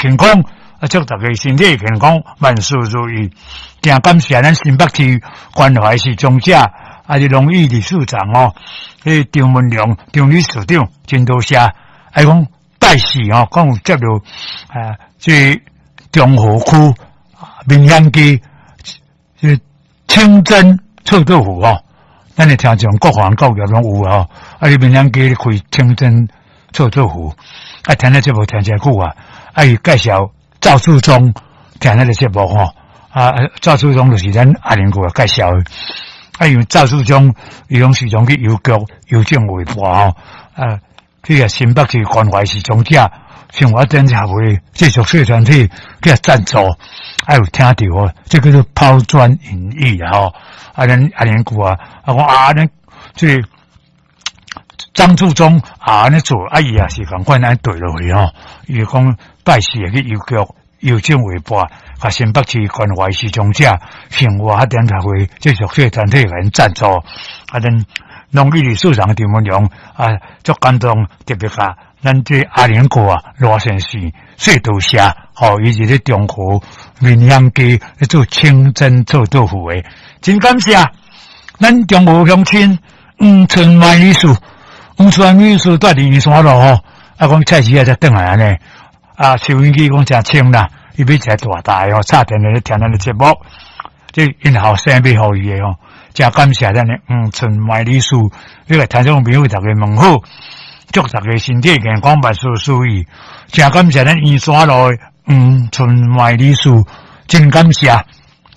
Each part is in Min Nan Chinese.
健康，啊，祝大家身體健康，萬事如意。誠感謝咱新北市關懷失聰者，啊，是農業理事長哦，彼張文良張理事長，真多謝。啊，講拜四哦，講有接著啊，這中和區民雄街這清真臭豆腐哦，咱的聽眾各行各業攏有哦。啊，你民雄街開清真臭豆腐，啊，聽咧節目聽誠久啊，啊，伊介紹趙樹忠聽咱个節目吼。啊，趙樹忠就是咱阿玲哥介紹的。啊，因為趙樹忠伊攏時常去郵局郵政匯報吼，啊，去共新北市關懷失聰者，生活點協會這弱勢團體去共贊助，啊有聽著哦，這叫做拋磚引玉啊吼。啊，咱阿玲哥啊，啊講啊，咱這個張樹忠啊，按呢做，啊伊也是仝款按呢綴落去吼。伊就講拜四會去郵局郵政匯報，共新北市關懷失聰者生活發展協會這弱勢團體共𪜶贊助，啊，咱農業理事長張文良啊，足感動，特別共咱這阿玲哥啊，羅先生說多謝，吼，伊是咧中和民雄街咧做清真臭豆腐的，真感謝。咱中和鄉親黃春梅女士，黃春梅女士蹛佇圓山路吼，啊，講菜市仔才轉來按呢，啊，收音機講誠清啦，伊買一个大台吼，插電咧聽咱的節目，這𪜶後生買予伊的吼，誠感謝咱的黃春梅女士，你來聽眾朋友逐家問好，祝大家身體健康，萬事如意。誠感謝咱圓山路的黃春梅女士，真感謝。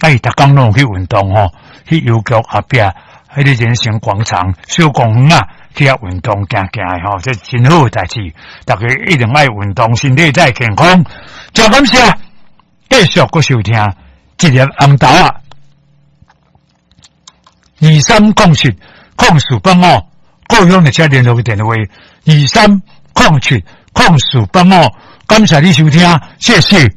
啊，伊逐工攏有去運動吼，去郵局後壁，彼个人生廣場小公園啊，去遐運動行行的吼，這真好的代誌。大家一定愛運動，身體才會健康。誠感謝，繼續閣收聽一粒紅豆仔，23070485，故鄉的車聯絡電話23070485，感謝你收聽，謝謝。